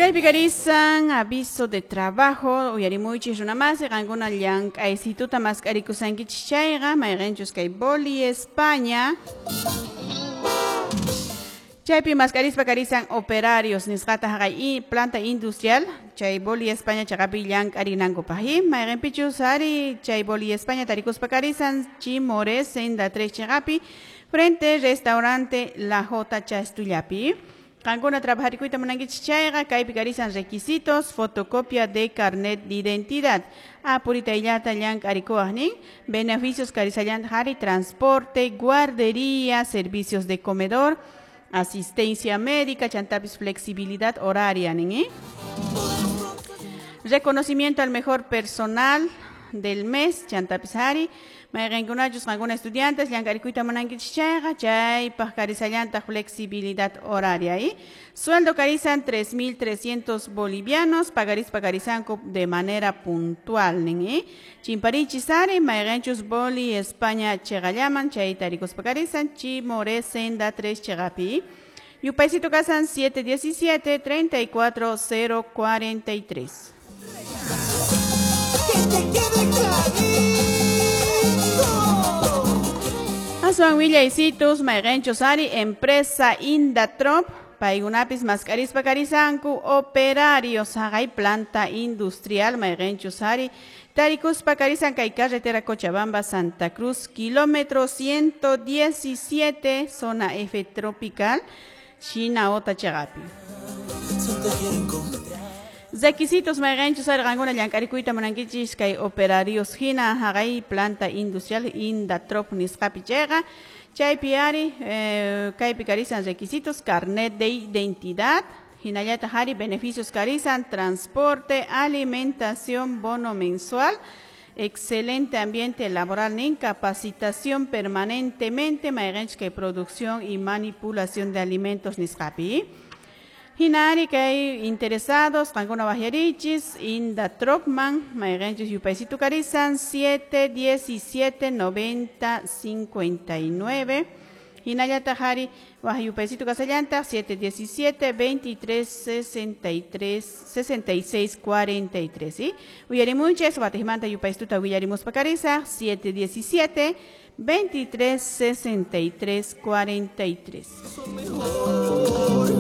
Kaypi karisan aviso de trabajo uyarimuychis runamasi qankuna llank'aysituta mask'arikusankichis chayqa mayqinchus kay Boli España chaypi mask'arispa karisan operarios nisqata haqay planta industrial chay Boli España chaqapi llank'arinankupaq mayqinpichus ari chay Boli España tarikuspa karisan Chimores senda 3 chaqapi frente restaurante La J Chastullapi. Qankuna trabajarikuyta munankichis chayqa kaypi karisan requisitos, fotocopia de carnet de identidad. Apuritayllata llank'arikuwaq nin, beneficios karisallanta hari, transporte, guardería, servicios de comedor, asistencia médica, chantapis flexibilidad horaria nin, ¿eh? Reconocimiento al mejor personal del mes, chantapis hari. Mayqinkunachus qankuna estudiantes llank'arikuyta munankichis chayqa chaypaq karisallantaq flexibilidad horaria. ¿Eh? Sueldo karisan 3.300 bolivianos, pagarispa karisanku de manera puntual nin, ¿eh? Chimparichis ari, mayqinchus Boli España chayqallaman, chay tarikuspa karisan Chimore senda 3 chayqapi. Yupaysito kasan 717 34043. Que te quede clarito. Aswan willaysitus mayqinchus ari empresa Indatrop paykunapis mask'arispa karisanku operarios haqay planta industrial mayqinchus ari tarikuspa karisan kay carretera Cochabamba Santa Cruz kilómetro 117 zona F tropical Shinaota chaqapi. Requisitos mayqinchus ari qankuna llank'arikuyta munankichis kay operarios hina haqay planta industrial Indatrop nisqapi chayqa chaypi ari kaypi karisan requisitos carnet de identidad hinallataq ari beneficios karisan transporte, alimentación, bono mensual, excelente ambiente laboral nin, capacitación permanentemente mayqinchus kay producción y manipulación de alimentos nisqapi. Hinari kay interesados qankuna waqyarichis Indatropman mayqinchus yupaysitu karisan 717 90 59 hinallataq ari waq yupaysitu kasallantaq 717 23 63 66 43, ¿sí? Uyarimunchis watijmanta yupaysituta willarimuspa karisaq 717 23 63 43. Son mejor.